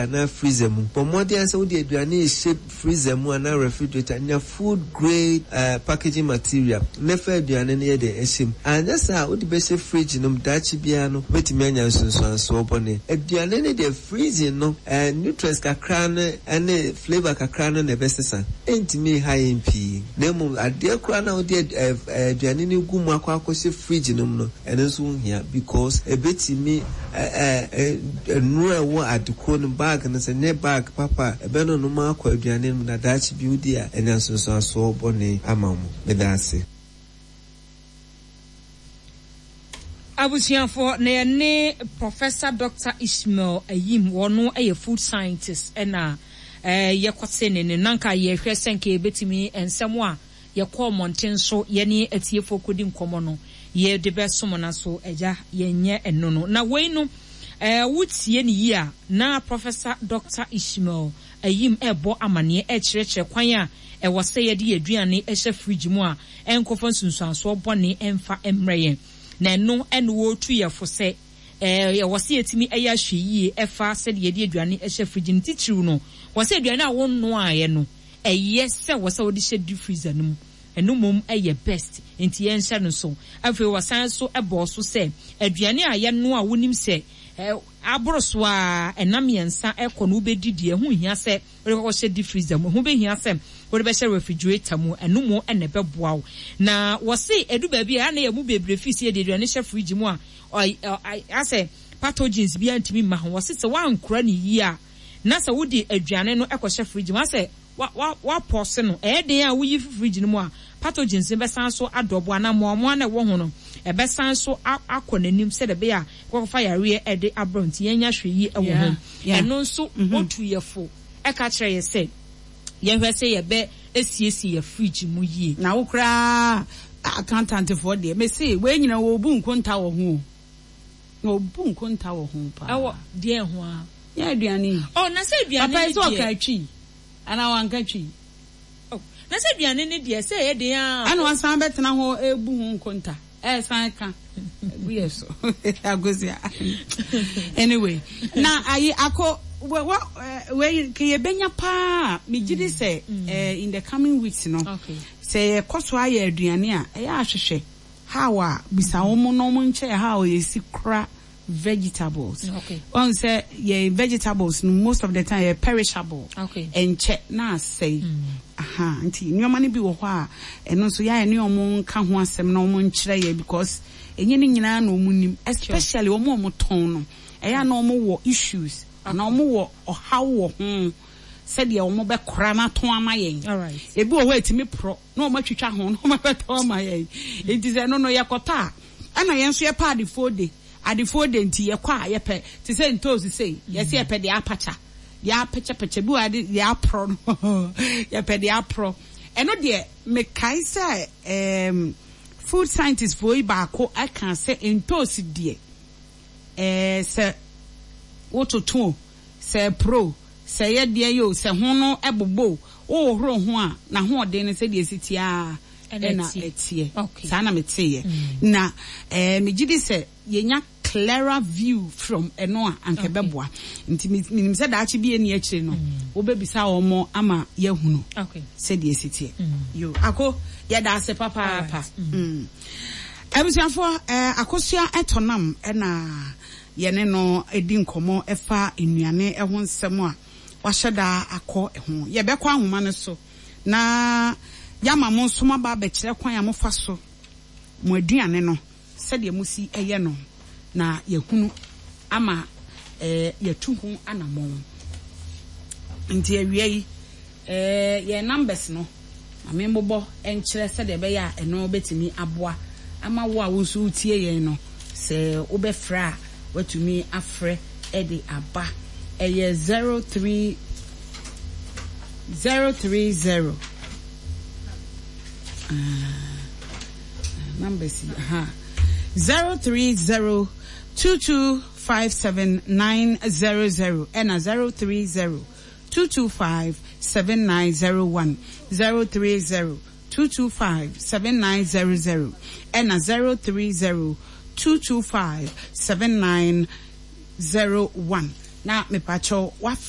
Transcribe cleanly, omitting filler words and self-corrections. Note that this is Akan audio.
anaa freezer mu. Bɔ mmɔden ara sɛ wode aduane rehyɛ freezer mu anaa refrigerator, nya food grade packaging material na fa aduane no yɛ dɛn hyɛ mu. Anyɛ saa a, wode bɛhyɛ fridge no mu, daakye biara no wobɛtumi anya nsunsuansoɔ bɔne. Aduane no deɛ freezing no, nutrients kakra no ne flavour kakra no na ɛbɛsesa. Ɛntumi nha yɛn pii. Na mmom adeɛ koraa no a wode aduane no gu mu akɔ akɔhyɛ fridge no mu no, Ɛno nso ho hia because ɛbɛtumi nnuro a ɛwɔ ade korɔ no bag no sɛ nyɛ bag papa a ɛbɛnonom akɔ aduane no mu na daakye bi wodi a anya nsunsuansoɔ bɔne ama wo. Meda ase. Abusuafoɔ, na yɛne Professor Doctor Ishmael Ayim, ɔno yɛ food scientist ɛna yɛkɔte ne ne, na nka yɛhwɛ sɛ nka yɛbɛtumi nsɛm a Yɛkɔɔ mmɔnten so yɛne atiefoɔ kɔdi nkɔmmɔ no, yɛde bɛsom no so, Agya, yɛnyɛ ɛno no. Na wei no, eh, wotie no yie a, na Professor Doctor Ishmael Ayim rebɔ amaneɛ, rekyerɛkyerɛ kwan a ɛwɔ sɛ yɛde yɛn aduane hyɛ fridge mu a ɛnkɔfa nsunsuansoɔ bɔne mfa mmrɛ yɛn. Na ɛno na wɔretu yɛn fo sɛ, eh, ɛwɔ sɛ yɛtumi yɛ ahwɛyie ɛfa sɛdeɛ yɛde aduane hyɛ fridge no. Titiriw no, wɔ sɛ aduane a wonnoaeɛ no, Ɛyɛ sɛ wɔ sɛ wode hyɛ deep freezer no mu, ɛno mmom yɛ best, nti yɛnhyɛ no nsow. Afei wɔsan nso bɔɔ so sɛ aduane a yɛnoa a wonim sɛ aboro so ara nna mmiɛnsa kɔ no wobɛdi deɛ, ɛho nhia sɛ wode kɔkɔhyɛ deep freezer mu, ɛho bɛhia sɛ wode bɛhyɛ refrigerator mu, ɛno mmom na ɛbɛboa wo. Na wɔse ɛdu baabi a ɛyɛ a na yɛn mu bebree feel sɛ yɛde aduane hyɛ fridge mu a asɛ pathogens biara ntumi mma ho. Wɔse sɛ woankora no yie a, na sɛ wode aduane no kɔhyɛ fridge mu a, sɛ woapɔse no, ɛyɛ den a woyi fi fridge no mu a, pathogens no bɛsan so adɔbo anaa mmoawammoawa no a ɛwɔ ho no, ɛbɛsan so akɔ n'anim sɛdeɛ ɛbɛyɛ a ɛbɛkɔfa yareɛ de abrɛ wo. Nti yɛnyɛ ahwɛyie wɔ ho. Ɛno nso wotu yɛ fo ka kyerɛ yɛ sɛ yɛnhwɛ sɛ yɛbɛ siesie yɛ fridge mu yie. Na wo koraa accountant foɔ deɛ mese wei nyina wɔbu nkonta wɔ ho o. Na obu nkonta wɔ ho paa. Ɛwɔ deɛn ho aa? Nyɛ aduane yi. Oh, na sɛ aduane Papa yi ne sɛ deɛ. ɔka twi anaa wanka twi? Oh, na sɛ aduane ne deɛ, sɛ ɛyɛ den aa. Ɛna wasan bɛtena hɔ rebu ho nkonta, ɛresan ka agu yɛ so. Akosua. Anyway, na ayi ako wɔ wɔ wei nka yɛbɛnya paa a, megye di sɛ eh, in the coming weeks no, Okay. sɛ yɛkɔ so ayɛ aduane a, ɛyɛ ahwehwɛ. How a, bisa wɔn na wɔn nkyɛɛ how a yɛsi kora vegetables. Okay. Wɔn sɛ yɛn vegetables no most of the time yɛ perishable. Okay. Ɛnkyɛ na asɛe. Aha, nti nneɛma no bi wɔ hɔ a ɛno nso yɛayɛ ne wɔn nka ho asɛm na wɔn nkyerɛ yɛ because ɛnyɛ ne nyinaa na wɔn nim especially wɔn a wɔn tɔn no. Ɛyɛ a na wɔn wɔ issues anaa wɔn wɔ ɔhaw wɔ ho sɛdeɛ wɔn bɛkora no atɔn ama yɛn. Ebi wɔ hɔ a ɛtumi porɔ. na wɔatwitwa ho na wɔabɛtɔn ama yɛn. Enti sɛ ɛno no yɛkɔtɔ a, ɛna yɛn nso yɛpɛ adefoɔ de. Adefoɔ de nti yɛkɔ a yɛpɛ te sɛ ntoosi sei, yɛse yɛpɛ deɛ apakya, deɛ apɛkyɛpɛkyɛ, bi wɔ ha de deɛ aporɔ no yɛpɛ deɛ aporɔ. Ɛno deɛ mekae sɛ ɛɛm food scientist foɔ yi baako kaa sɛ ntoosi deɛ ɛɛ sɛ wototo o, sɛ ɛporɔ o, Sɛ ɛyɛ deɛn o, sɛ ho no bobɔ o, wohohoro ho a, n'ahoɔden no sɛdeɛ ɛsi teɛ ara na ɛteɛ. Saa na meteeɛ. Na megye di sɛ yɛnya clearer view from ɛno a, anka ɛbɛboa. Nti menim sɛ daakye bi a ɛnni akyire no, wobɛbisa wɔn ama yɛahunu sɛdeɛ ɛsi teɛ. Yo, Ako, yɛda ase papaapa. Abusuafoɔ, Akosua Tɔnam na Yɛne no di nkɔmmɔ fa nnuane ho nsɛm a wahyɛ da akɔ ho. Yɛbɛkɔ ahoma no so na yɛama mo nso moaba abɛkyerɛ kwan a mofa so mo aduane no, sɛdeɛ mosi yɛ no, na yɛahunu ama yɛatu ho anammɔn. Nti awia yi, yɛn numbers no, Ma memmobɔ nkyerɛ sɛdeɛ ɛbɛyɛ a ɛno bɛtumi aboa ama wo a wo nso wotie yɛn no, sɛ wobɛfrɛ a, woatumi afrɛ de aba. Ɛyɛ 03 030 ah, numbers yi, aha, 030 2257900 ɛna 030 225 7901, 030 225 7900 ɛna 030 225 7901 na mepakyɛw wafrɛ.